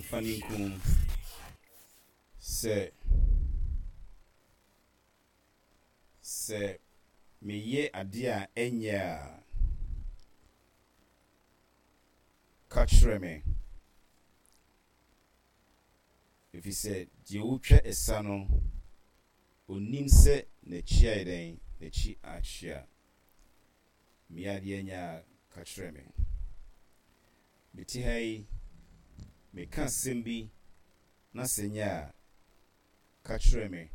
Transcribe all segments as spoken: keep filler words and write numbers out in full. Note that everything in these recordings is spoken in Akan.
Memfa ne nku sɛ sɛ meyɛ adeɛ a ɛnyɛ a, ka kyerɛ me. Ɛfiri sɛ deɛ ɔretwa ɛsa no, ɔnnim sɛ n'akyi ayɛ dɛn? N'akyi akyea. Meyɛ adeɛ a ɛnyɛ a, ka kyerɛ me. Mete ha yi, meka asɛm bi na sɛ ɛnyɛ a, ka kyerɛ me.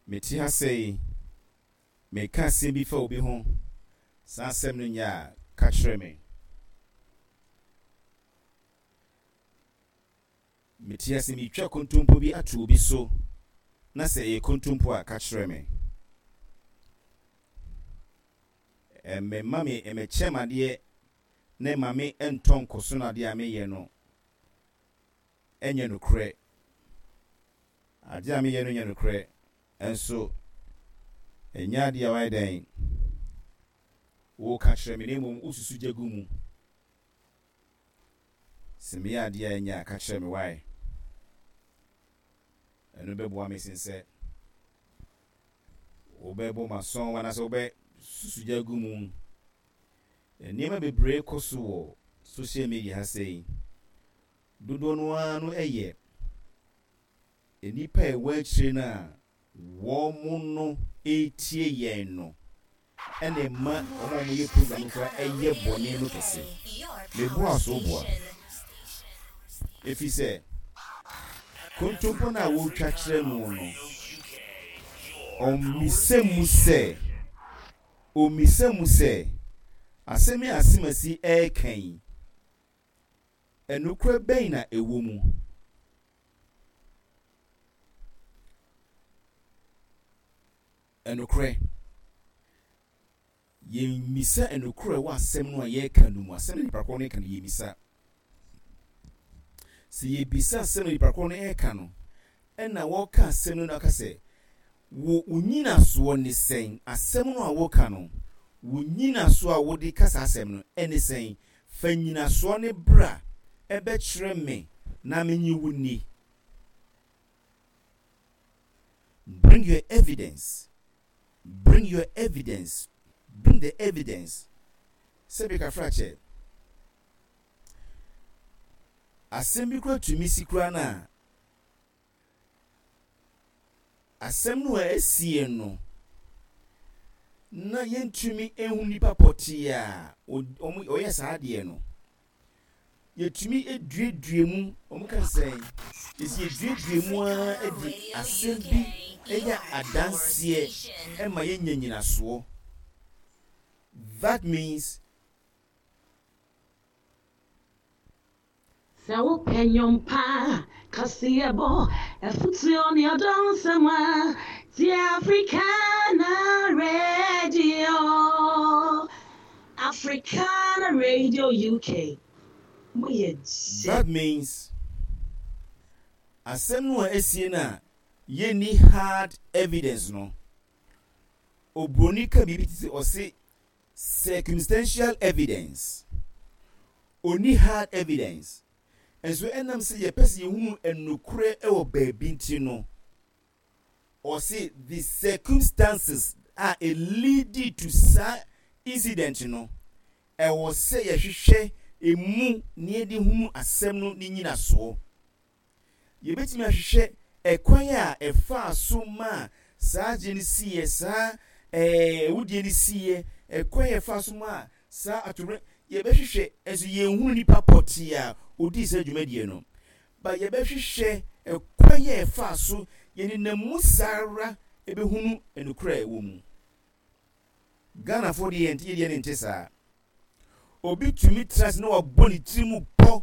Mete ha sɛɛ yi, meka asɛm bi fa obi ho, saa asɛm no nyɛ a, ka kyerɛ me. Mete ase meretwa kontompo bi ato obi so, na sɛ ɛyɛ kontompo a, ka kyerɛ me. Ɛmma me, ɛmmɛkyɛ m'adeɛ na ɛmma me ntɔ nkɔso no adeɛ a meyɛ no nyɛ nokorɛ. Adeɛ a meyɛ no nyɛ nokorɛ, nso ɛnyɛ adeɛ a woayɛ dɛn? Woreka kyerɛ me, na mmom wosusu gya gu mu. Sɛ meyɛ adeɛ a ɛnyɛ a, ka kyerɛ me why. Ɛno bɛboa me sen sɛ wobɛbɔ m'asɔn anaasɛ wobɛsusu gya agu mu. Nneɛma bebree kɔ so wɔ social media ha sei. Dodoɔ no ara no yɛ nnipa a ɛwɔ akyire no a wɔn no retie yɛn no na ɛma wɔn a wɔyɛ program no koraa yɛ bɔne no kɛse. Meboa so boa. Ɛfiri sɛ, kontompo no a wɔretwa kyerɛ no no, ɔmmisa mu sɛ, ɔmmisa mu sɛ, asɛm yi a Asemasi reka yi, nokorɛ bɛn na ɛwɔ mu? Nokorɛ, yɛmmisa nokorɛ wɔ asɛm no a yɛreka no mu, asɛm no nipa korɔ no reka no yɛmmisa. Sɛ yɛbisa asɛm no nipa korɔ no reka no, ɛna wɔka asɛm no na aka sɛ, wo wo nyinasoɔ ne sɛn? Asɛm no a woka no, wo nyinasoɔ a wode ka saa asɛm no ɛne sɛn? Fa nyinasoɔ no bra ɛbɛkyerɛ me na menye wo nni. Bring your evidence, bring your evidence, bring the evidence. Sɛbi kafra kyɛ. Asɛm bi kura tumi si kura no a, asɛm no a asie no, na yɛntumi ehu nipa pɔtee a ɔyɛ saa adeɛ no. Yɛtumi duadua mu, wɔka no sɛn? Yɛsi yɛduadua mu ara de asɛm bi yɛ adanseɛ ma yɛnya nyinasoɔ. That means. Sɛ wopɛ nnwom pa, kaseɛbɔ, afotuo ne ɔdɔ nsɛm a, tie Africana Radio. Africana Radio U K. Moyɛ gye. That means asɛm no a asie no a yɛnni hard evidence no, oburoni ka biribi te sɛ ɔse circumstantial evidence. Onni hard evidence. Nso ɛnam sɛ yɛpɛ sɛ yɛhunu nokorɛ wɔ baabi nti no, ɔse the circumstances a ɛleadi to saa incident no, ɛwɔ sɛ yɛhwehwɛ emu na yɛde hunu asɛm no ne nyinasoɔ. Yɛbɛtumi ahwehwɛ ɛkwan a ɛfaa so maa saa agye no siiɛ, saa ɛɛ awudie no siiɛ, ɛkwan a ɛfaa so maa saa atomerɛ, yɛbɛhwehwɛ nso yɛnhunu nipa pɔtee a ɔdii saa dwumadie no, but yɛbɛhwehwɛ ɛkwan a ɛfaa so, yɛnenam mu saa ara ɛbɛhunu nokorɛ a ɛwɔ mu. Ghanafoɔ deɛ yɛnte yɛdeɛ no nte saa. Obi tumi tena ase na wabɔ ne tiri mu pɔ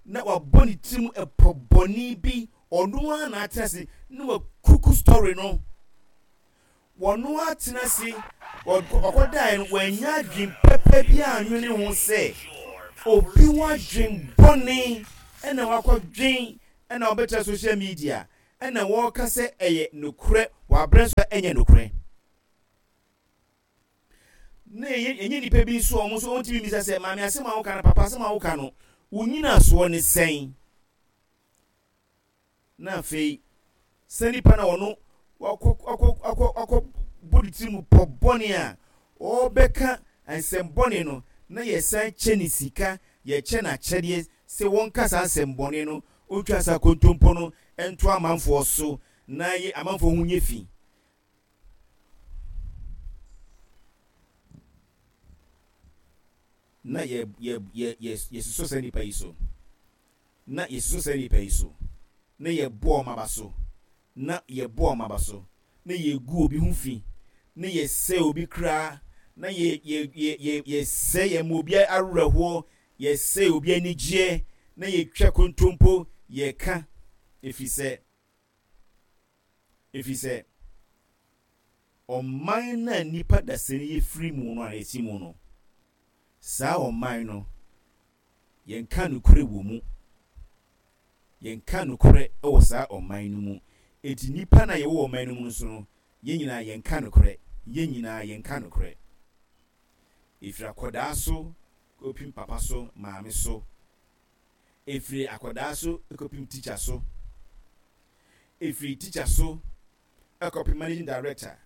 na wabɔ ne tiri mu ɛpɔ bɔne bi, ɔno ara na atena ase na wakuku story no. Wɔno atena ase ɔkɔdaeɛ no wanya adwen pɛpɛ bi anwene ho sɛ obi ho adwen bɔne ɛna wakɔdwen ɛna ɔbɛtena social media ɛna wɔreka sɛ ɛyɛ nokorɛ wɔ aberɛ nso a ɛnyɛ nokorɛ. Na ɛnyɛ nnipa bi nso a wɔn nso wɔntumi mmisa sɛ, maame asɛm a woka no, papa asɛm a woka no, wo nyinasoɔ ne sɛn? Na afei sɛ nipa na ɔno wakɔ akɔ akɔ akɔ bɔ ne tiri mu pɔ bɔne a ɔrebɛka nsɛm bɔne no, na yɛsan kyɛ ne sika, yɛkyɛ no akyɛdeɛ sɛ wɔnka saa nsɛm bɔne no, ɔntwa saa kontompo no nto amanfoɔ so na yɛ amanfoɔ ho nyɛ fi. Na yɛ yɛ yɛ yɛ yɛsosɔ saa nipa yi so. Na yɛsosɔ saa nnipa yi so, na yɛbɔ wɔn aba so, na yɛbɔ wɔn aba so, na yɛgu obi ho fi, na yɛsɛe obi kra, na yɛ, yɛ, yɛ, yɛ, yɛsɛe, yɛma obi awerɛhoɔ, yɛsɛe obi anigyeɛ, na yɛtwa kontompo, yɛka, ɛfiri sɛ, ɛfiri sɛ, ɔman no a nnipa dasani yɛfiri mu no a yɛte mu no, saa ɔman no, Yɛnka nokorɛ wɔ mu. Yɛnka nokorɛ wɔ saa ɔman no mu. Enti nnipa no a yɛwɔ ɔman no mu nso no, yɛn nyinaa yɛnka nokorɛ. Yɛn nyinaa yɛnka nokorɛ. Ɛfiri akwadaa so kɔpem papa so, maame so. Ɛfiri akwadaa so kɔpem tikya so. Ɛfiri tikya so kɔpem managing director.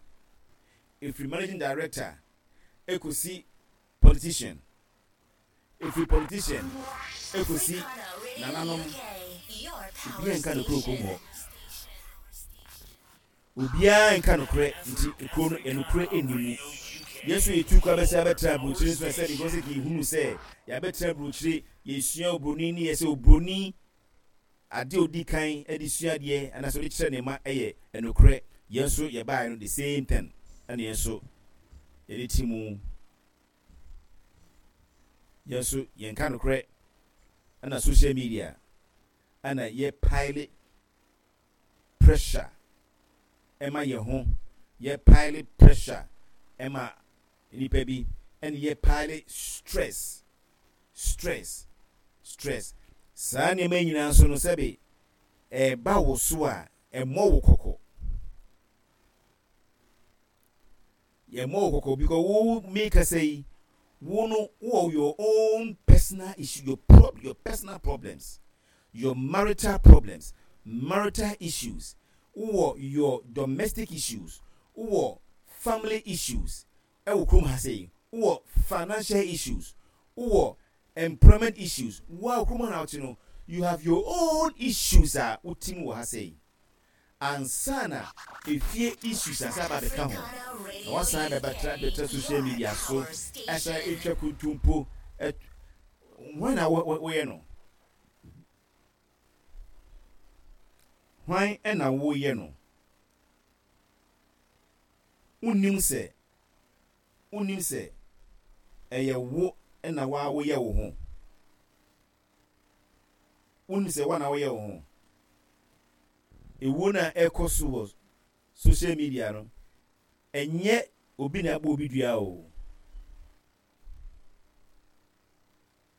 Ɛfiri managing director kɔsi politician. Ɛfiri politician ɛkɔsi nananom, obiara nka nokorɛ wɔ kurom hɔ. Obiara nka nokorɛ nti kuro no ɛnokorɛ nni mu. Yɛn nso yɛtu kwan bɛsɛ abɛtena aburokyire nso ɛsɛ because sɛ yɛhunu sɛ yɛabɛtena aburokyire yɛsua oburoni ne yɛ sɛ oburoni adeɛ odi kan de sua adeɛ anaasɛ ɔde kyerɛ ne ma ɛyɛ ɛnokorɛ. Yɛn nso yɛbaeɛ no the same thing ɛna yɛn nso yɛde ti mu. Yɛn nso yɛnka nokorɛ ɛna social media ɛna yɛ pile pressure ɛma yɛn ho, yɛ pile pressure ɛma nipa bi, ɛna yɛ pile stress, stress, stress. Saa nneɛma nyinaa nso no sɛbe ɛba wo so a ɛmmɔ wo kɔkɔ. Yɛmmɔ wo kɔkɔ because wo me kasa yi, wo no wowɔ your own personal issue, your prob your personal problems, your marital problems, marital issues, wowɔ your domestic issues, wowɔ family issues ɛwɔ kurom ha sei, wowɔ financial issues, wowɔ employment issues, wo a kurom ha na wote no, you have your own issues a wotim wɔ ha sei. Ansa na efie issues asan aba abɛka ho, na wasan abɛtra bɛtra social media so asan atwa kontompo. Hwan na woyɛ no? Hwan na woyɛ no? Wonnim sɛ wonnim sɛ ɛyɛ wo na waa woyɛ wo ho. Wonnim sɛ woa na woyɛ wo ho. Ewuo no a ɛrekɔ so wɔ social media no, ɛnyɛ obi na abɔ obi dua o.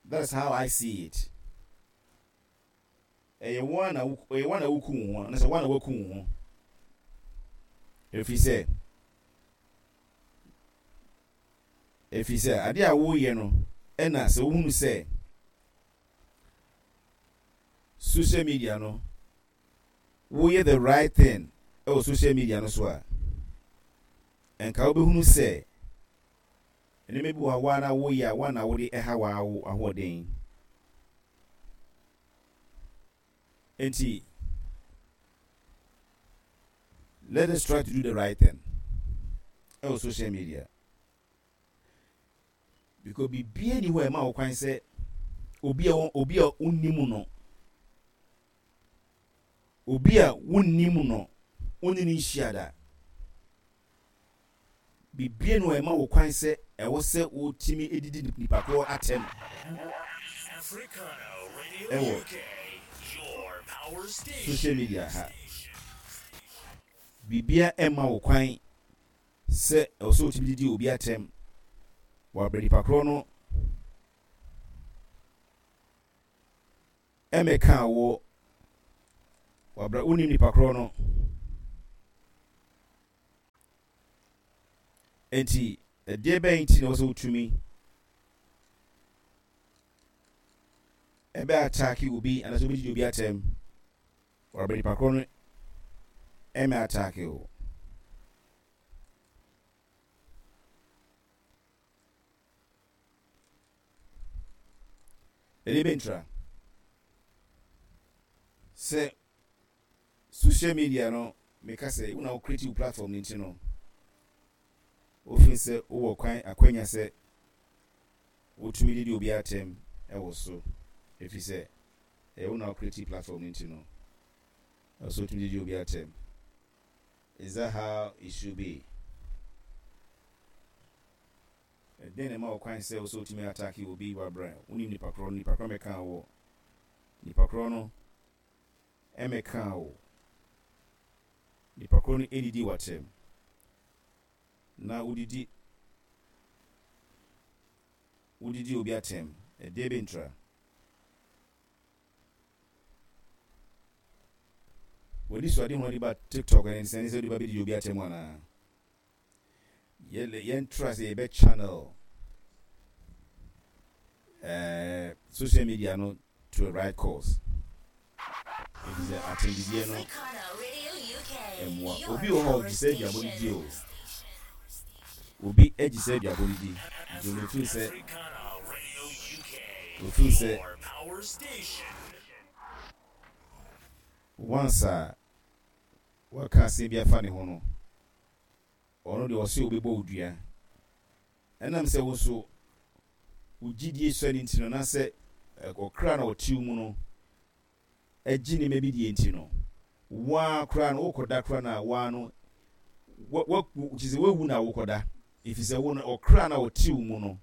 That's how I see it. Ɛyɛ wo ara na ɛyɛ wo ara na woku wo ho anaasɛ wo ara na woaku wo ho. Ɛfiri sɛ, ɛfiri sɛ adeɛ a woreyɛ no ɛna sɛ wohunu sɛ social media no woyɛ the right thing ɛwɔ social media no so a, nka wobɛhunu sɛ nneɛma bi wɔ hɔ a wo ara na woyɛ a wo ara na wode ɛha w'ahoɔden. Enti let us try to do the right thing ɛwɔ social media because biribiara ni hɔ a ɛma wo kwan sɛ obi a obi a wonnim no obi a wonnim no wonni ne nhyia da. Biribiara nni hɔ a ɛma wo kwan sɛ ɛwɔ sɛ wotumi didi nipa korɔ atɛm wɔ social media ha. Biribiara mma wo kwan sɛ ɛwɔ sɛ wotumi didi obi atɛm wɔ abere nipa korɔ no mmɛkaa wo wɔ abere wonim nipa korɔ no. Enti Ɛdeɛ bɛn nti na ɛwɔ sɛ wotumi ɛbɛ attack obi anaasɛ wobɛdidi obi atɛm wɔabɛ nipa korɔ no ɛmɛ attack o? Ɛdeɛ bɛntra sɛ social media no, meka sɛ wo na wo create wo platform no nti no, wofin sɛ wowɔ kwan akwanya sɛ wotumi didi obi atɛm ɛwɔ so, ɛfiri sɛ ɛyɛ wo na wo create platform no nti no, ɛwɔ wotumi didi obi atɛm. Is that how it should be? Ɛdɛn na ɛma wo kwan sɛ wo sɛ wotumi attack obi wɔ abrɛ wonim nipa korɔ no? Nipa korɔ mɛka wɔ nipa korɔ no ɛmɛka wo, nipa korɔ no ɛdidi w'atɛm na wodidi wodidi obi atɛm. Ɛdeɛ bɛntra w'ani so ade ho de ba TikTok ɛne sɛ ne sɛ wode ba bɛdidi obi atɛm anaa? Yɛn try sɛ yɛbɛ channel uh, social media no to the right cause, ɛfiri sɛ atɛndidiɛ no ɛmmoa. Obi wɔ hɔ ɔgye sɛ aduabɔ no di o, obi agye sɛ aduabɔ no di, nti ɔno ofiri sɛ ofiri sɛ once a waka asɛm bi afa ne ho no, ɔno deɛ ɔsɛ obɛbɔ wo dua. Ɛnam sɛ wo nso wo gyidie sɔ ne nti no, na sɛ ɔkra na ɔte wo mu no agye nneɛma bi die nti no, waa koraa no wokɔda koraa na waa no wa kyerɛ sɛ wawu na wokɔda, ɛfiri sɛ wo no ɔkra na ɔte wo mu no,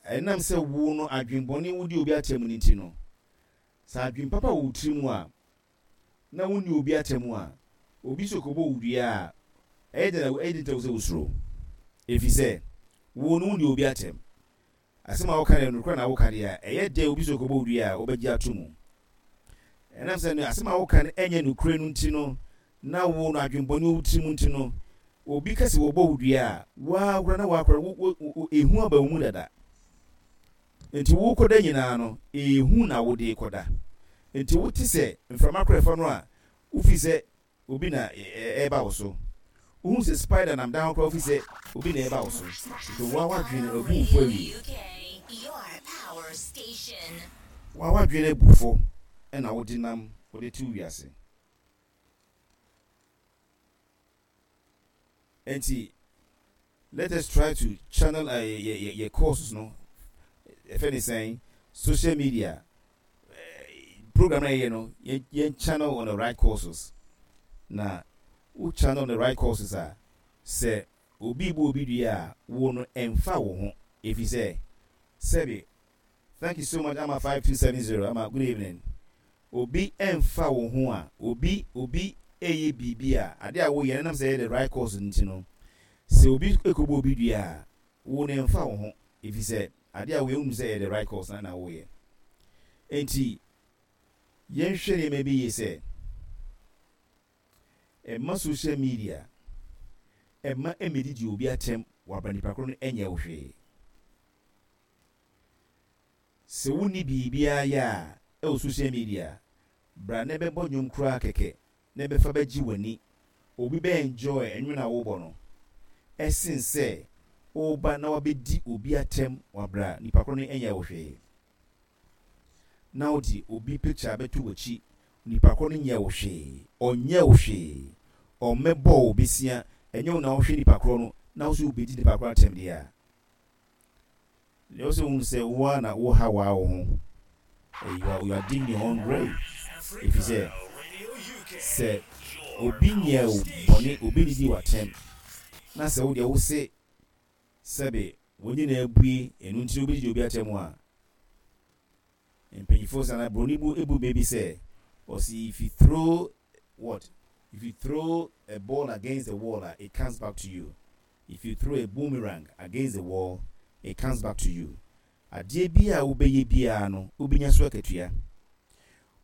ɛnam sɛ wo no adwenbɔne wodi obi atɛm no nti no, sɛ adwen papa wɔ wo tiri mu a na wonni obi atɛm a, obi so kɔbɔ wo dua a, ɛyɛ dɛn na ɛyɛ den sɛ wosuro, ɛfiri sɛ wo no wonni obi atɛm. Asɛm a woka no nokorɛ na woka deɛ a, ɛyɛ dɛn obi so kɔbɔ wo dua a wobɛgye ato mu? Ɛnam sɛ no asɛm a woka no ɛnyɛ nokorɛ no nti no, na wo no adwenbɔne wɔ wo tiri mu nti no, obi ka sɛ wɔbɔ wo dua a, waa koraa na waa koraa wo wo ehu aba wo mu dada. Nti wokɔda nyinaa no, ehu na wode kɔda. Nti wote sɛ mframa korɔ ɛfa no a, wofi sɛ obi na ɛreba wo so. Wohu sɛ spider nam dan ho koraa, wofi sɛ obi na ɛreba wo so. Nti waa wadwene abu wo fo awie. Waa wadwene abu fo ɛna wode nam wode te wiase. Nti let us try to channel uh, yɛ yɛ courses no, ɛfɛ ne sɛn, social media uh, program na yɛyɛ no, yɛn yɛn channel on the right courses. Na wo channel on the right courses a, sɛ obi bu obi dua a, wo no ɛnfa wo ho, efi sɛ sɛbi. Thank you so much, Ama five two seven zero. Ama, good evening. Obi ɛnfa wo ho a, obi obi ɛyɛ biribi a, ade a woyɛ no nam sɛ ɛyɛ the right course nti no, sɛ obi ekɔbɔ obi dua a, wo no ɛnfa wo ho, efi sɛ ade a woyɛ, wonim sɛ ɛyɛ the right course na na woyɛ. Nti yɛnhwɛ nneɛma bi yie sɛ ɛma social media ɛma ɛmɛdidi obi atɛm waba nipa koro no ɛnyɛ wo hwee. Sɛ wonni biribiara yɛ a ɛwɔ social media, bra na ɛbɛbɔ nnwom koraa kɛkɛ na ɛbɛfa bɛgye w'ani. Obi bɛ enjoy ɛnwom na wobɔ no ɛsen sɛ woba na wabɛdi obi atɛm wabra nipa koro no ɛnyɛ wo hwee, na wode obi picture bɛto w'akyi. Nipa koro no nyɛ wo hwee, ɔnyɛ wo hwee, ɔmmɛbɔ wo besia, ɛnyɛ wo na wohwɛ nipa koro no na wo so wobɛdi nipa koro atɛm deɛ a, deɛ wo sɛ wohu sɛ wo a na woha waa wo ho. You are, you are digging your own grave, ɛfiri sɛ sɛ obi nyɛ wo bɔne, obi didi w'atɛm na sɛ wo deɛ wo se sɛbe wɔn nyinaa abue ɛno nti wobɛdidi obi atɛm a, mpanyinfoɔ sɛ na buroni bu ebu baabi sɛ ɔsi, if you throw what if you throw a ball against the wall, it comes back to you. If you throw a boomerang against the wall, it comes back to you. Adeɛ bi a wobɛyɛ biara no, wobɛnya so akatua.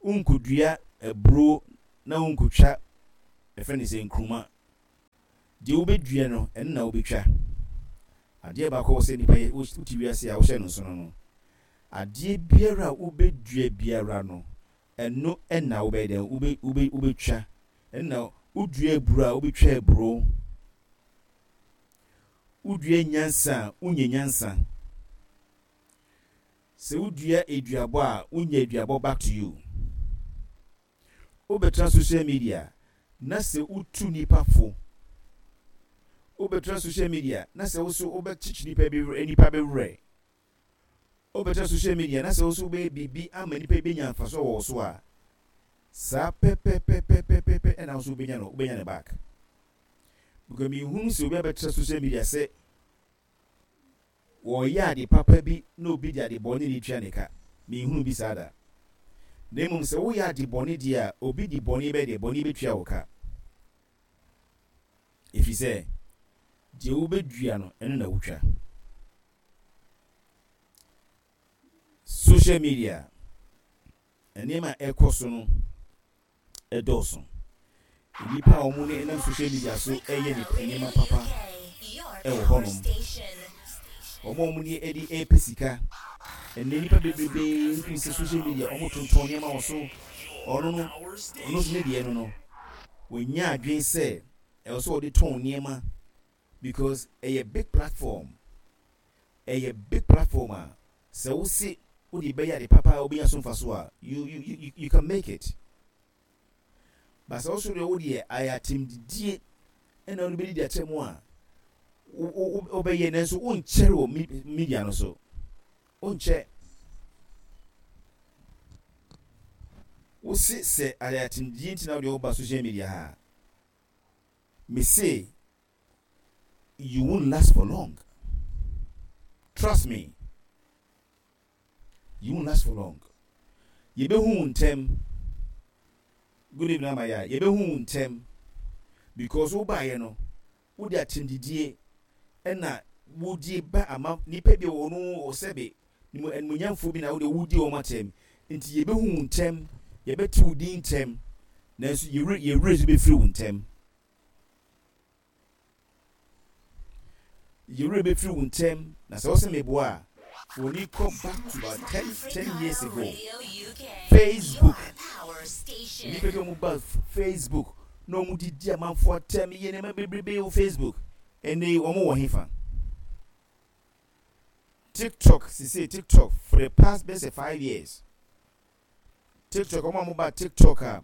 Wonkɔdua aburo na wonkɔtwa ɛfɛ ne sɛ nkuruma. Deɛ wobɛdua no, ɛno na wobɛtwa. Adeɛ baako a wɔ sɛ nipa yɛ, wote wiase a wohyɛ no nso no no adeɛ biara a wobɛdua biara no, ɛno ɛna wobɛyɛ dɛn? wobɛ wobɛ wobɛtwa. Ɛna wodua aburo a, wobɛtwa aburo. Wodua nyansa a, wonya nyansa. Sɛ wodua aduabɔ a, wonya aduabɔ back to you. Wobɛtena social media na sɛ wotu nipa fo, wobɛtena social media na sɛ wo so wobɛkyekye nipa bi, nipa bɛwerɛ, wobɛtena social media na sɛ wo so wobɛyɛ biribi ama nipa bi bɛnya mfasoɔ wɔ wo so a, saa pɛpɛpɛpɛpɛpɛ ɛna wo so wobɛnya no, wobɛnya ne back, because mehunu sɛ obi abɛtena social media sɛ wɔyɛ ade papa bi na obi de ade bɔne ne tua ne ka. Mehunu bi saa da. Na mmom sɛ woyɛ ade bɔne deɛ a, obi de bɔne bɛ deɛ bɔne bɛtua wo ka, ɛfiri sɛ deɛ wobɛdua no, ɛno na wotwa. Social media nneɛma a ɛkɔ so no ɛdɔɔso. Nnipa a wɔn ne nam social media so ɛyɛ nneɛma papa ɛwɔ hɔnom, wɔn a wɔn ne ɛde ɛpɛ sika. Ɛnna nnipa bebrebe nfi sɛ social media wɔn tontɔn nneɛma wɔ so. Ɔno no, ɔno nso ne deɛ no no wɔnya adwene sɛ ɛwɔ sɛ ɔde tɔn nneɛma, because ɛyɛ big platform. Ɛyɛ big platform a sɛ wosi wode bɛyɛ ade papa a, wobɛnya so mfa so a, you you you you can make it. But sɛ woso deɛ, wodeɛ ayɛ atɛmdidie ɛna wode bɛdidi akyɛ mu a, wobɛyɛ, nanso wonkyɛre wɔ media no so. Wonkyɛ. Wosi sɛ ayɛ atɛmdidie nti na wode woba social media ha, mese you won't last for long. Trust me, you won't last for long. Yɛbɛhu wo ntɛm. Good evening, Amaya. Yɛbɛhu wo ntɛm because wobaeɛ no, wode atɛmdidie ɛna wodie ba ama nipa bi wɔ no sɛbe animuonyamfoɔ bi na wode wodi wɔn atɛm. Nti yɛbɛhu wo ntɛm, yɛbɛte wo din ntɛm, nanso yɛwerɛ yɛwerɛ nso bɛfiri wo ntɛm. Yɛwerɛ bɛfiri wo ntɛm. Na sɛ wosɛ meboa a, wɔni kɔ back to about ten ten years ago, Facebook, nnipa bi a wɔn ba Facebook na wɔn didi amanfoɔ atɛm, yɛ nneɛma bebrebe wɔ Facebook. Ɛnɛ yi wɔn wɔ hefa? TikTok sisi, TikTok for the past bɛsɛ five years, TikTok, wɔn a wɔn ba TikTok a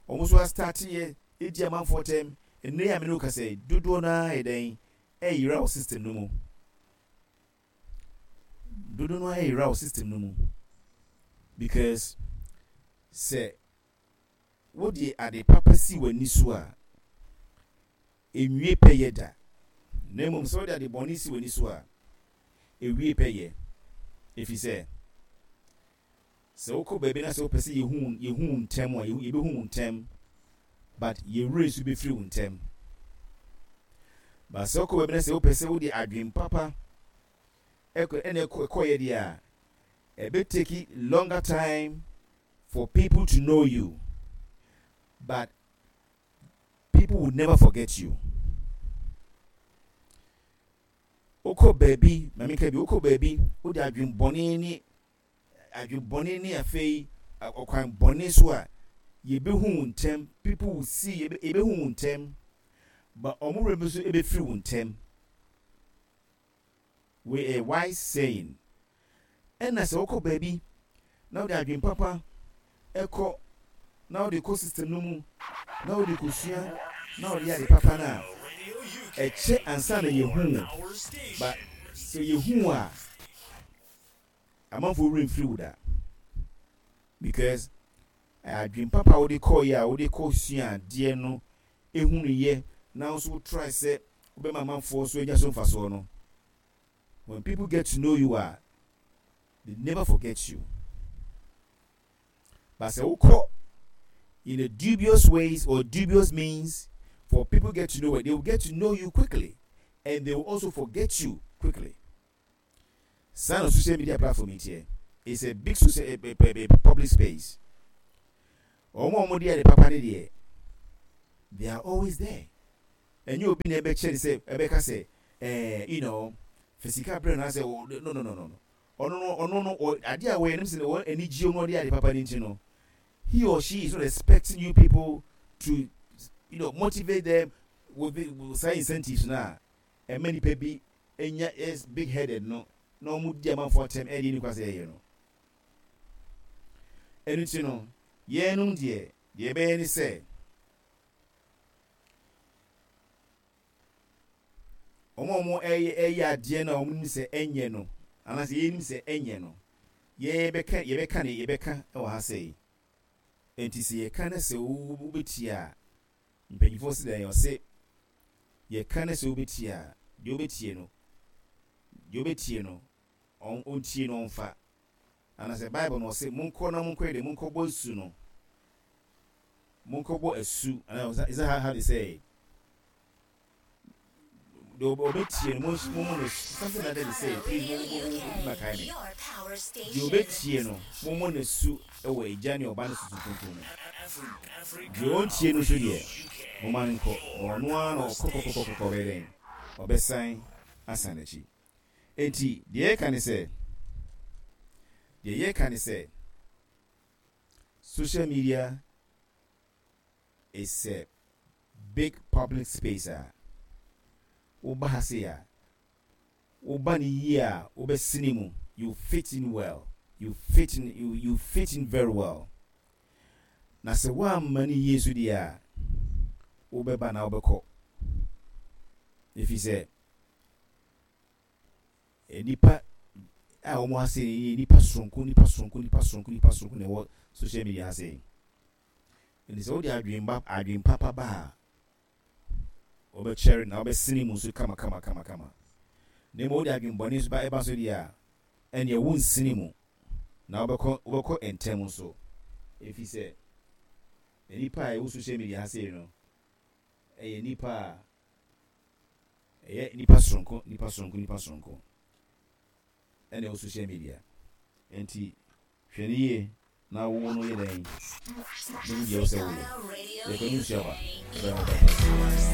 wɔn nso astart yɛ edi amanfoɔ tɛm, ɛnɛ yi a mene kasa yi, dodoɔ naa yɛ dɛn? Ɛyera wɔ system no mu. Dodoɔ no ayera wɔ system no mu because sɛ wode ade papa si w'ani so a, enwie pɛyɛ da. Na mmom sɛ wode ade bɔne si w'ani so a, ewie pɛyɛ, ɛfiri sɛ sɛ wokɔ baabi na sɛ wopɛ sɛ yɛhu yɛhu wo ntɛm a, yɛbɛhu wo ntɛm, but yɛwerɛ nso bɛfiri wo ntɛm. But sɛ wokɔ baabi na sɛ wopɛ sɛ wode adwen papa ɛkɔ ɛna ɛkɔ ɛkɔyɛ deɛ a, ɛbɛ take longer time for people to know you, but people will never forget you. Wokɔ baabi, maame ka bi, wokɔ baabi wode adwen bɔne ne adwen bɔne ne afei ɔkwan bɔne so a, yɛbɛhu wo ntɛm. People will see, yɛbɛhu wo ntɛm, but ɔmo werɛ nso ɛbɛfiri wo ntɛm. Wei a wise saying. Ɛna sɛ wokɔ baabi na wode adwen papa ɛkɔ na wode kɔ system no mu na wode kɔsua na wode yɛ ade papa no a, ɛkyɛ ansa na yɛhu wo, but sɛ yɛhu wo a, amanfoɔ werɛ mfiri wo da, because adwen papa a wode kɔɔyɛ a wode kɔ sua adeɛ no ehunu yɛ na nso wo try sɛ wobɛma amanfoɔ so anya so mfasoɔ no, when people get to know you a, they never forget you. But sɛ wokɔ in a dubious ways or dubious means for people get to know it, they will get to know you quickly and they will also forget you quickly. Saa na social media platform yi teɛ. It's a big social a, a, a, public space. Wɔn a wɔde ade papa ne deɛ, they are always there. Ɛnyɛ obi na ɛbɛkyerɛ ne sɛ ɛbɛka sɛ ɛɛ you know Fa sika brɛ no asɛ no no no no no ɔno no ɔno no adeɛ a wɔyɛ no sɛ wɔn ani gye no, ɔde ade papa no nti no, he or she is not expecting you people to you know motivate them with, with saa incentives na ɛma nipa bi enya is big headed no na wɔn di amanfoɔ atɛm ɛde nipa sɛ ɛyɛ no. Ɛno ti no, yɛn deɛ deɛ ɛbɛyɛ ne sɛ wɔn a wɔn ɛyɛ ɛyɛ adeɛ no a wɔn nim sɛ ɛnyɛ no, anaasɛ yɛn nim sɛ ɛnyɛ no, yɛbɛka yɛbɛka ne yɛbɛka ɛwɔ ha sɛ yi. Nti sɛ yɛka ne sɛ wobɛtie a, mpanyinfoɔ si dɛn ɔse yɛka ne sɛ wobɛtie a, deɛ wobɛtie no deɛ wobɛtie no ɔntie no ɔmfa. Anaasɛ Bible no ɔse monkɔ na monkɔ yɛ de monkɔbɔ asu no, monkɔbɔ asu. Anaa is that how they say? Deɛ ɔbɛtie no, mommɔ no, something like that they say. Please, mo mo mo mo kae me. Deɛ ɔbɛtie no, mommɔ no asu ɛwɔ Agya ne Ɔba ne Susu Kronkron mu. Deɛ ɔntie no nso deɛ, momma no nkɔ na ɔno ara na ɔkɔkɔkɔkɔkɔ bɛyɛ dɛn, ɔbɛsan asan n'akyi. Enti deɛ yɛka ne sɛ deɛ yɛka ne sɛ social media is a big public space a woba ha sei a, woba ne yie a, wobɛsene mu. You fit in well, you fit in you, you fit in very well. Na sɛ woamma no yie so deɛ a, wobɛba na wobɛkɔ, ɛfiri sɛ nipa a wɔn ha sei yɛ nipa soronko, nipa soronko, nipa soronko, nipa soronko na ɛwɔ social media ha sei. Nti sɛ wode adwen adwen papa ba a, wɔbɛkyɛre na wɔbɛsene mu nso kama kama kama kama. Na mmom wode adwen bɔne nso ba ɛba so deɛ a, ɛnneɛ wonsene mu na wobɛkɔ wobɛkɔ ntɛm nso, ɛfiri sɛ nipa a ɛwɔ social media ha sei no ɛyɛ nipa a ɛyɛ nipa soronko, nipa soronko, nipa soronko ɛna ɛwɔ social media. Nti hwɛ ne yie na wo no yɛ dɛn ne wo deɛ wo sɛ woyɛ yɛkɔ ne nsuaba ɛbɛn wo bɛtɛ.